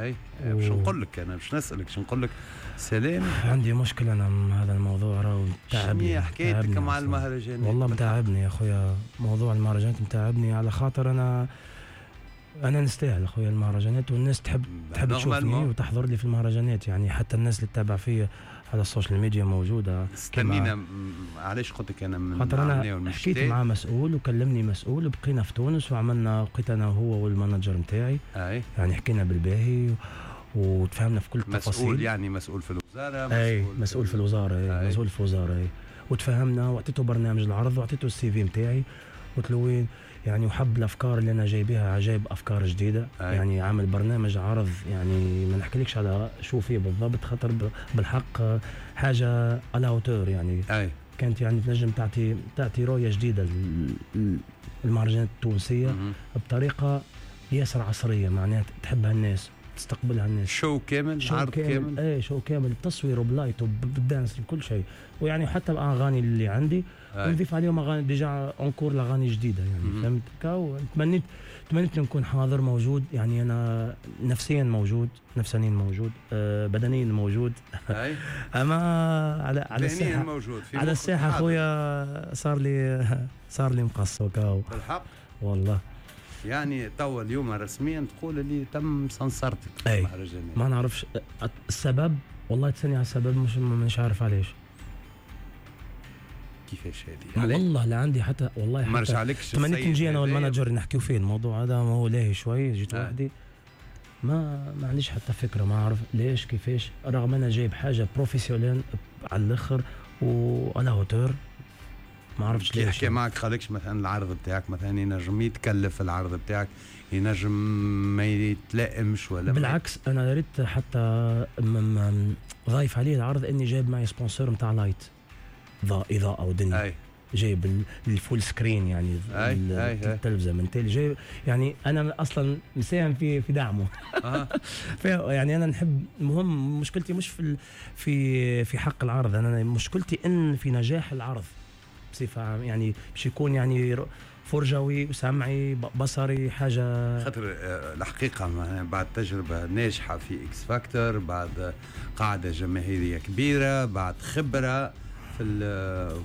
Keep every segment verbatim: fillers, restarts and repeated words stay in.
اي، باش نقول لك، انا باش نسالك، باش نقول لك سلام. عندي مشكلة انا مع هذا الموضوع، راهو تعبني. شنو حكايتك مع المهرجانات؟ والله متعبني يا خويا، موضوع المهرجانات متعبني، على خاطر انا انا نستاهل اخويا المهرجانات، والناس تحب تحب تشوفني وتحضر لي في المهرجانات، يعني حتى الناس اللي تتابع فيا على السوشيال ميديا موجوده. استنينا، علاش قلت لك انا من خاطر انا حكيت مع مسؤول وكلمني مسؤول وبقينا في تونس وعملنا، بقيت انا وهو وال manager نتاعي. اي يعني حكينا بالباهي وتفاهمنا في كل التفاصيل. مسؤول يعني مسؤول في الوزاره؟ اي، مسؤول في الوزاره، أي. مسؤول في الوزاره، اي. وتفاهمنا واعطيته برنامج العرض واعطيته ال CV نتاعي، قلت له وين يعني، وحب الافكار اللي انا جايبها، جايب افكار جديده. أي. يعني عامل برنامج عرض، يعني ما نحكيلكش على شو فيه بالضبط، خاطر بالحق حاجة à la hauteur يعني. أي. كانت يعني تنجم تعطي تعطي رؤية جديدة للمهرجانات التونسية مم. بطريقة ياسر عصريه، معناها تحبها الناس، تستقبلها الناس. show كامل، show عرض كامل، كامل. ايه، show كامل بتصوير وب light وبال danse وكل شيء، ويعني حتى الاغاني اللي عندي ونضيف عليهم اغاني déjà encore الاغاني جديدة يعني. فهمت؟ تمنيت تمنيت نكون حاضر موجود، يعني انا نفسيا موجود، نفسانيا موجود، آه بدنيا موجود. أي. اما على على الساحه موجود في على الساحة خويا صار لي صار لي مقص وكاو. بالحق؟ والله. يعني توا اليوم رسميا تقول اللي تم سنسرتك؟ في ما نعرفش السبب، والله تسألني على السبب مش مش عارف علاش. كيفاش هذه؟ والله لا عندي حتى، والله حتى ما رجعلكش؟ تمنيت نجي انا وال manager نحكيو فيه الموضوع هذا، ما هو لاهي شوي، جيت آه. وحدي، ما ما عنديش حتى فكره، ما اعرف ليش كيفاش، رغم انا جايب حاجة professionnelle على الاخر و à la hauteur، ما عرفتش. ليش يحكي معك قالكش مثلا العرض بتاعك مثلا ينجم يتكلف، العرض بتاعك ينجم ما يتلائمش ولا؟ بالعكس، انا ريت حتى ضايف عليه العرض اني جايب معي sponsor نتاع light، اضاءه ودنيا. أي. جايب ال full screen يعني التلفزة من تالي جايب، يعني انا اصلا مساهم في في دعمه. آه. يعني انا نحب، المهم مشكلتي مش في في في حق العرض، انا مشكلتي ان في نجاح العرض بصفة عامة، يعني باش يكون يعني فرجوي وسمعي بصري حاجه. خاطر آه، الحقيقة بعد تجربه ناجحة في X Factor، بعد قاعدة جماهيرية كبيره، بعد خبره في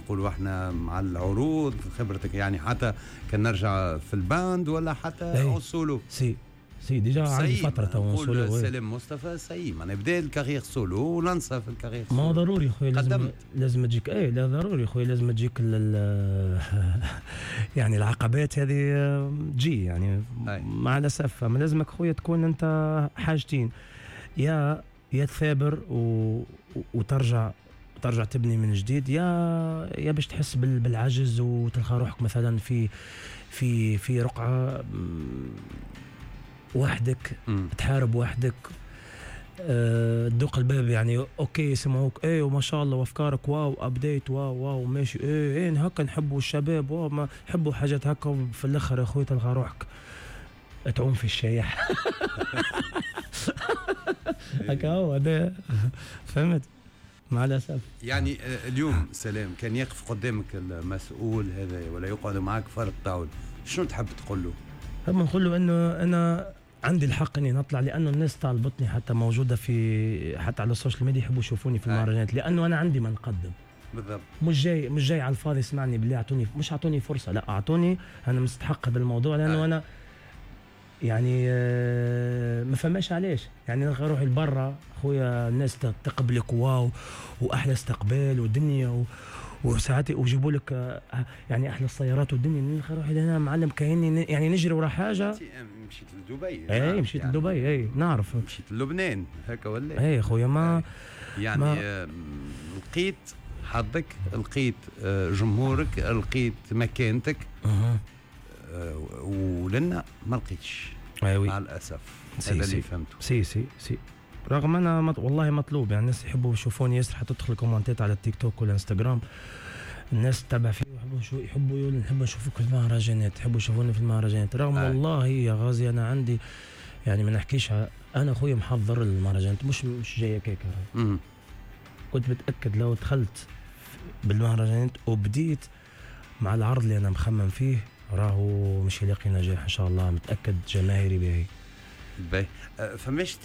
نقولوا احنا مع العروض، خبرتك يعني حتى كان نرجع في ال band ولا حتى en solo. si si، déjà عندي فترة تو سولو. سلام مصطفى ça y est، معناها بدا ال carrière solo ولانسا في ال carrière. ما ضروري خويا، لازم لازم تجيك، اي لا ضروري خويا، لازم تجيك يعني العقبات هذه تجي يعني. أي. مع الاسف، ما لازمك خويا تكون انت حاجتين، يا يا تثابر و... وترجع ترجع تبني من جديد، يا يا باش تحس بالعجز وتلقى روحك مثلا في في في رقعه وحدك. م. تحارب وحدك، أه تدق الباب، يعني okay يسمعوك، ايه وما شاء الله وافكارك wow update wow wow ماشي، ايه ايه هكا نحبوا الشباب، wow ما نحبوا حاجات هكا، في الاخر يا خويا تلقى روحك تعوم في الشايح هكا هو هذا، فهمت؟ مع الاسف. يعني آه، اليوم سلام كان يقف قدامك المسؤول هذا ولا يقعد معك فرد طاول، شنو تحب تقول له؟ هم نقول له انه انا عندي الحق اني نطلع، لانه الناس طالبتني، حتى موجودة في حتى على السوشيال ميديا يحبوا يشوفوني في المهرجانات، لانه انا عندي ما نقدم. بالضبط. مش جاي مش جاي على الفاضي، اسمعني بالله اعطوني، مش اعطوني فرصه، لا اعطوني، انا مستحق هذا الموضوع لانه آه. انا يعني آه، ما فماش علاش يعني نلقى روحي لبرا خويا، الناس تقبلك wow واحلى استقبال ودنيا و وساعات ويجيبوا لك آه، يعني احلى السيارات والدنيا، نلقى روحي هنا معلم كاني يعني نجري ورا حاجه. مشيت لدبي. اي مشيت يعني لدبي، اي نعرف. مشيت للبنان هكا ولا؟ اي خويا ما يعني ما لقيت حظك، لقيت آه، جمهورك، لقيت مكانتك. أه. ولنا ما لقيتش. أي oui. مع الاسف هذا اللي فهمته. si si si، رغم انا مط... والله مطلوب، يعني الناس يحبوا يشوفوني ياسر، حتى تدخل كومنتات على التيك توك والانستغرام، الناس تتابع فيه يحبوا شو يحبوا يقولوا نحب نشوفك في المهرجانات، يحبوا يشوفوني في المهرجانات، رغم آه. والله يا غازي انا عندي يعني ما نحكيش، انا خويا محضر المهرجانات، مش مش جاية كيكه. كنت متاكد لو دخلت بالمهرجانات وبديت مع العرض اللي انا مخمم فيه راهو مش يلاقي نجاح ان شاء الله، متاكد جماهيري باهي. باهي، فماش